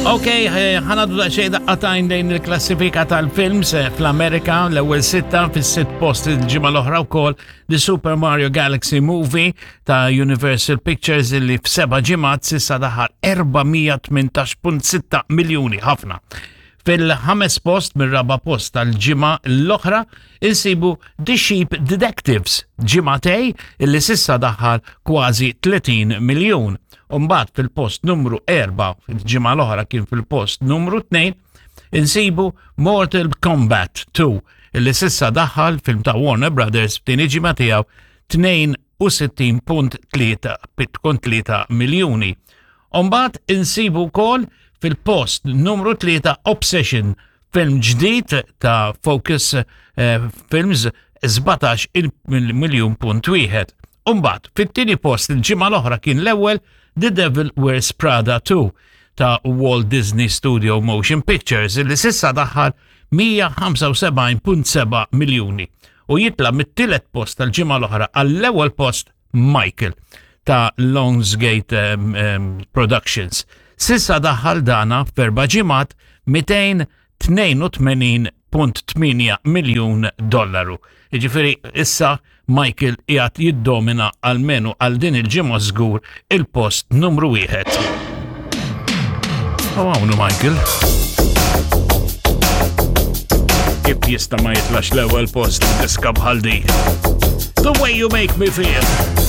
Ok, eh, ħanadu daqsxejn daqqatajn lejn il-klassifika tal-films eh, fl-Amerika l-ewwel sitta fis-sitt post il-ġimgħa l-oħra wkoll The Super Mario Galaxy Movie ta' Universal Pictures illi f'seba' ġimgħat sissa daħal 418.6 miljuni ħafna. Fil-ħames post mir-raba post tal-ġimgħa l-oħra insibu The Sheep Detectives, ġimgħatej illi sissa daħal kważi 30 miljun. Umbagħad fil-post numru 4 fil-ġimgħa l-oħra kien fil-post numru 2 insibu Mortal Kombat 2 illi sissa daħal film ta' Warner Brothers f'tieni ġimgħa tiegħu 62.3 miljuni. Umbagħad insibu wkoll fil-post numru 3 Obsession, film ġdid ta' Focus eh, Films 17 miljun punt wieħed. Umbagħad fit-tieni post il-ġimgħa l-oħra kien l-ewwel The Devil Wears Prada 2 ta' Walt Disney Studio Motion Pictures li sissa daħħal 175.7 miljuni u jitla mit-tielet post tal-ġimgħa l-oħra għall-ewwel post Michael ta' Lionsgate um, um, Productions. Sissa daħħal dana f'erba' ġimgħat 282.8 miljun dollaru. Jiġifieri issa Michael qiegħed jiddomina almenu għal din il-ġimgħa żgur il-post numru wieħed. U hawnhu Michael. Kif jista' ma jitlax l-ewwel post diska bħal di? The way you make me feel.